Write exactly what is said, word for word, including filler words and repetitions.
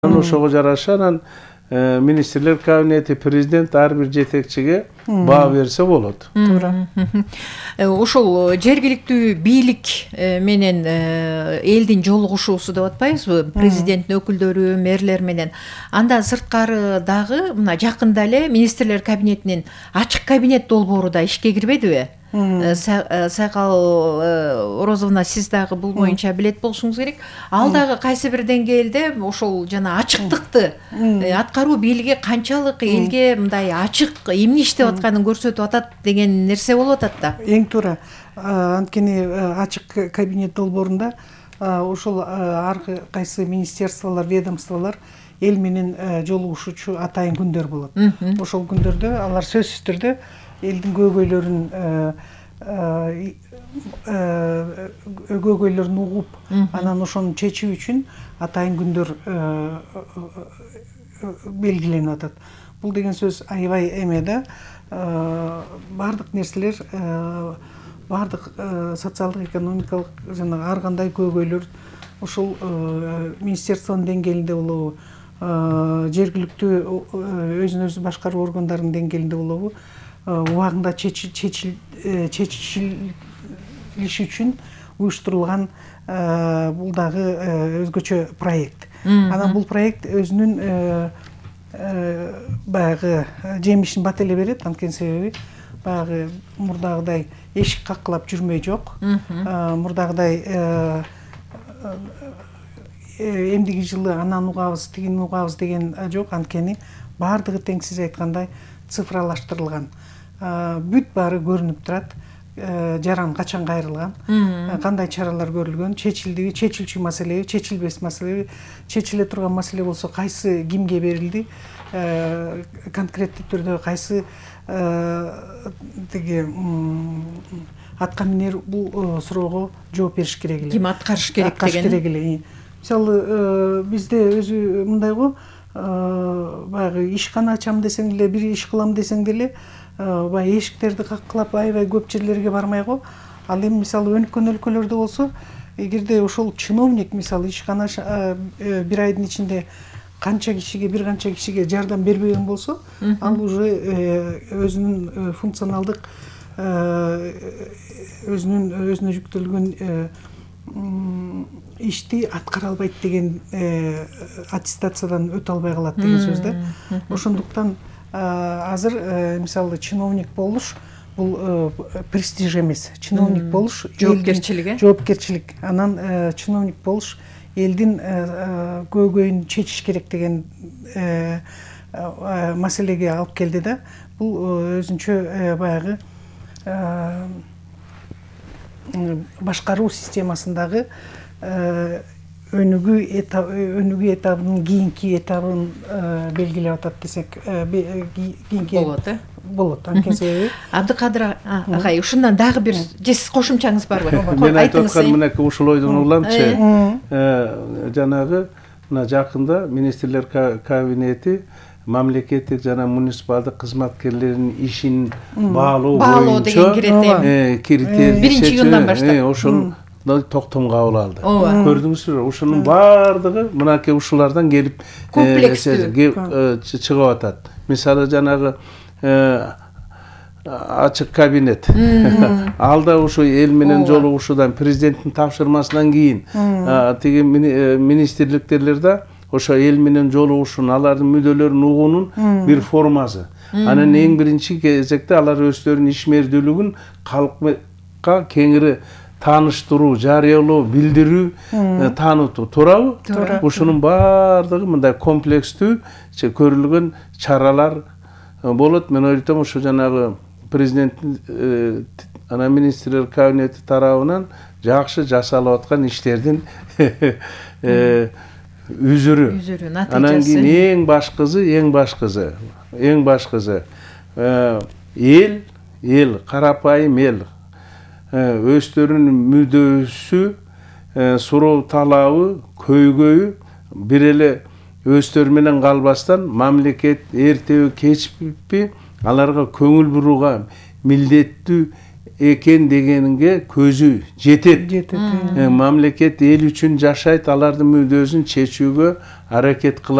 Ошого жараша анан министрлер кабинети, президент ар бир жетекчиге баа берсе болот. Туура. Ошол жергиликтүү бийлик менен элдин жолугушуусу деп атпайбызбы? Президенттин өкүлдөрү, мэрлер менен. Андан сырткары дагы мына жакында эле министрлер кабинетинин ачык кабинет долбоору да ишке кирбедиби? Сайкал Орозовна, сиз дагы бул боюнча билет болушуңуз керек. Ал дагы кайсы бир деңгээлде ошол жана ачыктыкты, аткаруу бийлиги канчалык элге мындай ачык эмне иштеп атканын көрсөтүп атат деген нерсе болуп атат да. Эң туура. Анткени ачык кабинет долбоорунда ошол ар кайсы министерстволор, ведомстволор эл менен жолугушуучу атайын күндөр болот. Ошол күндөрдө алар сөзсүз түрдө элдин көйгөйлөрүн көйгөйлөрүн угуп, анан ошону чечүү үчүн атайын күндөр белгиленип атат. Бул деген сөз аябай эме да, бардык нерселер, бардык социалдык, экономикалык жана ар кандай көйгөйлөр ошол министерствонун деңгээлинде болобу, жергиликтүү өзүн өзү башкаруу органдарынын деңгээлинде болобу, убагында чечилиш үчүн уюштурулган бул дагы өзгөчө проект. Анан бул проект өзүнүн баягы жемишин бат эле берет, анткени себеби баягы мурдагыдай эшик каккылап жүрмөй жок. Мурдагыдай эмдиги жылы анан угабыз, тигини угабыз деген жок, анткени баардыгы тең сиз айткандай цифралаштырылган. Бүт баары көрүнүп турат. Жаран качан кайрылган, кандай чаралар көрүлгөн, чечилдиби, чечилчү маселеби, чечилбес маселеби, чечиле турган маселе болсо кайсы кимге берилди, конкреттүү түрдө кайсы тиги атка минер бул суроого жооп бериш керек эле. Ким аткарыш керек деген. Мисалы бизде өзү мындай го, баягы ишкана ачам десең эле, бир иш кылам десең деле, баягы эшиктерди каккылап аябай көп жерлерге бармай го. Ал эми мисалы өнүккөн өлкөлөрдө болсо, эгерде ошол чиновник мисалы ишкана бир айдын ичинде канча кишиге, бир канча кишиге жардам бербеген болсо, ал уже өзүнүн функционалдык, өзүнүн өзүнө жүктөлгөн ишти аткара албайт деген аттестациядан өтө албай калат деген сөз да. Ошондуктан азыр мисалы чиновник болуш бул престиж эмес. Чиновник болуш жоопкерчилик, жоопкерчилик. Анан чиновник болуш элдин көйгөйүн чечиш керек деген маселеге алып келди да. Бул өзүнчө баягы башкаруу системасындагы өнүгүү өнүгүү этабынын кийинки этабын белгилеп атат десек кийинки болот, э? Болот. Анткени себеби Абдыкадыр агай, ушундан дагы бир сиз кошумчаңыз барбы? Мен айтып аткан мынакей ушул ойдон угуламчы. Жанагы мына жакында министрлер кабинети мамлекеттик жана муниципалдык кызматкерлердин ишин баалоо боюнча критерий биринчи июндан баштап ошол токтом кабыл алды. Көрдүңүзбү? Ушунун баардыгы мынакей ушулардан келип комплекстүү чыгып атат. Мисалы жанагы ачык кабинет. Ал да ушу эл менен жолугушуудан, президенттин тапшырмасынан кийин тиги министрликтерде ошо эл менен жолугушуунун, алардын мүдөлөрүн угуунун бир формасы. Анан эң биринчи кезекте алар өздөрүнүн ишмердүүлүгүн калкка кеңири тааныштыруу, жарыялоо, билдирүү, таанытуу. Туурабы? Туура. Ушунун баардыгы мындай комплекстүү көрүлгөн чаралар болот. Мен ойлойм, ушу жанагы президенттин анан министрлер кабинети тарабынан жакшы жасалып аткан иштердин үзүрү. Анан кийин эң башкысы, эң башкысы, эң башкысы эл, эл, карапайым эл өздөрүнүн мүдөөсү, суроо талабы, көйгөйү бир эле өздөрү менен калбастан мамлекет эртеби кечпи аларга көңүл бурууга милдеттүү экен дегенге көзү жетет. жетет. Мамлекет эл үчүн жашайт, алардын мүдөөсүн чечүүгө аракет кылат.